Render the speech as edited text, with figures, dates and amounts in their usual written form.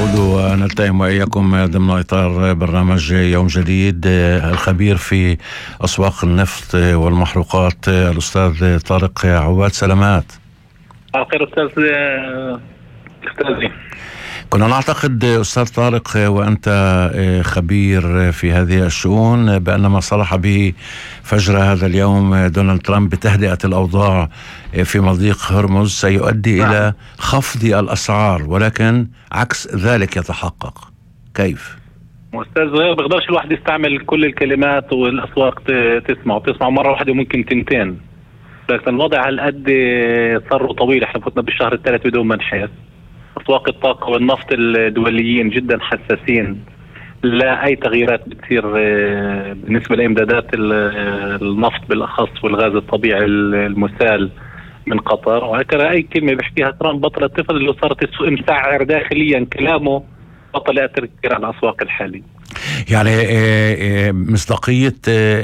نعود ونلتئم وإياكم ضمن إطار برنامج يوم جديد. الخبير في أسواق النفط والمحروقات الأستاذ طارق عواد، سلامات. خير أستاذي. كنا نعتقد أستاذ طارق وأنت خبير في هذه الشؤون بأن ما صرح به فجر هذا اليوم دونالد ترامب بتهدئة الأوضاع في مضيق هرمز سيؤدي إلى خفض الأسعار، ولكن عكس ذلك يتحقق. كيف؟ أستاذ زهير، بقدرش الواحد يستعمل كل الكلمات والأسواق تسمع مرة واحدة وممكن تنتين، لكن الوضع هالقد صار طويل. احنا فتنا بالشهر الثالث بدون ما نحس. أسواق الطاقة والنفط الدوليين جدا حساسين لا أي تغييرات بتصير بالنسبة لإمدادات النفط بالأخص والغاز الطبيعي المسال من قطر. وهكذا أي كلمة بيحكيها ترامب بطل الطفل، اللي صارت السوق مسعر داخليا كلامه بطل يأثر كثير على الأسواق الحالية. يعني مصداقية